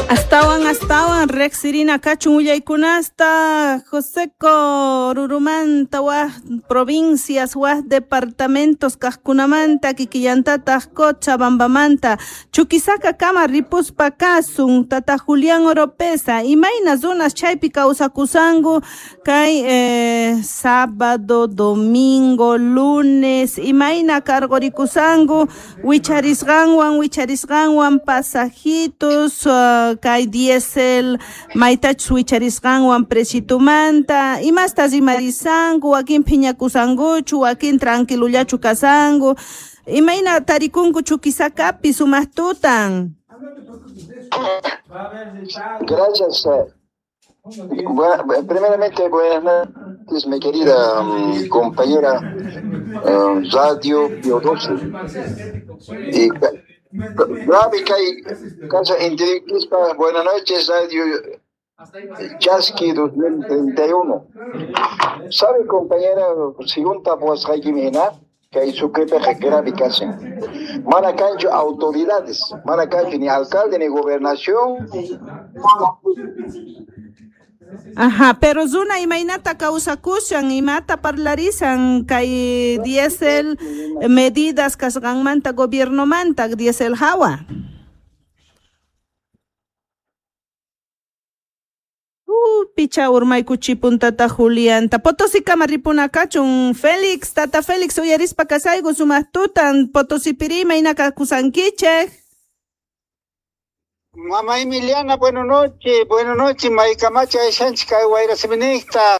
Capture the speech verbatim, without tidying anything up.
Astawan astawan riqsirina kachun willaykunasta Joseco Rurumanta waj provincias waj departamentos kaqkunamanta kikillantataq Cochabambamanta Chuquisaca kama ripuspa kasun tata Julián Oropesa imayna runas chaypi kawsakusanku kay eh, sábado, domingo, lunes imayna karqurikusanku wicharisqanwan wicharisqanwan pasajitos uh, kay diésel maytachus wicharisqanwan precitumanta imasta rimarisanku wakin phiñakusankuchu wakin tranquilullachu kasanku imayna tarikunku Chuquisacapi sumaq tutan. Gracias. Bueno, primeramente, buenas noches, mi querida um, compañera um, Radio Pio doce. Y Gaby Casa Entrevista, buenas noches, Radio Chasqui dos mil treinta y uno. ¿Sabe, compañera, según tapuas Jimena, que hay su grave casi? Manacancho autoridades, manacancho ni alcalde ni gobernación. Ajá, pero runa imaynata kawsakushan imata parlarisan kay diésel medidas kasqanmanta gobiernomanta diésel hawa. Uh, picha urmaykuchipun tata Julianta. Potosí kama ripuna kachun Félix, tata Félix uyarispa kasayku sumaq tutan Potosipiri imayna kakusankichej. Mamá Emiliana, buenas noches, buenas noches, Maicamacha, Shanchika, Guaira Seminista.